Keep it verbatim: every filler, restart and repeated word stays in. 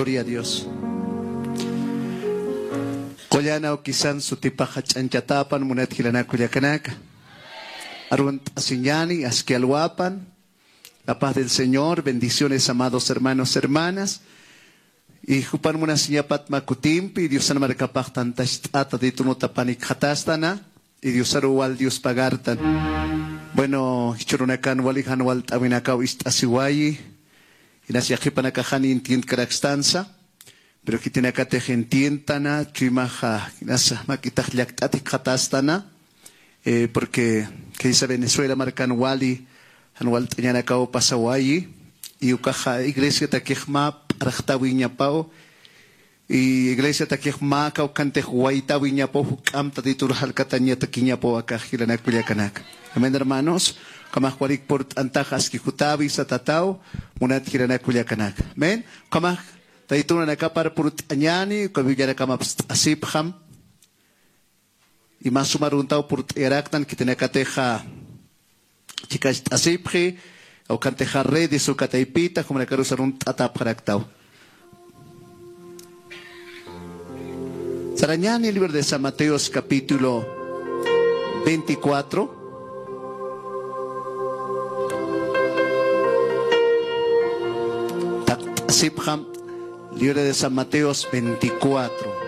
Gloria a Dios. Qullana awkisan sutipaxa ch'anchatapan munat jilanaka kullakanaka. Arunt'asiñani, aski alwapan. La paz del Señor, bendiciones, amados hermanos, hermanas. Y jupan munasiñapat mä kutimpi, Diosan markapax tantacht'ata Tatitunxa panikxatastana, y Diosaru wal Dios pagartan. Bueno, jichhürunakan wali jan walt'äwinakaw ist'asiwayi, inas yaqhipanakax jan entiendkarakstansa, pero khitinakatix entiendtana, chuymaxa, inas mak'itax llakt'at jikxatastana, eh, porque khaysa Venezuela markan wali jan walt'añanakaw pasawayi, y ukaxa iglesiatakix mä p'arxtäwiñapaw, y iglesiatakix mä kawkhantix waytäwiñapaw, juk'amp Tatitur jalkatañatakiñapaw akax jilanaka kullakanaka. Amén, hermanos. Ukhamax walik purt'antax aski jutäwi satataw, munat jilanaka kullakanaka. Amén. Ukhamax Tatitur nanakapar purt'añäni, uka Biblianakama apst'asipxam. Y mä suma aruntaw purt'ayaraktan khitinakatixa chikacht'asipxi, ukantixa redes uka taypita, jumanakarusa arunt'atäpxaraktaw. Sarañäni libro de San Mateos capítulo veinticuatro. Takt'asipxam libro de San Mateos veinticuatro.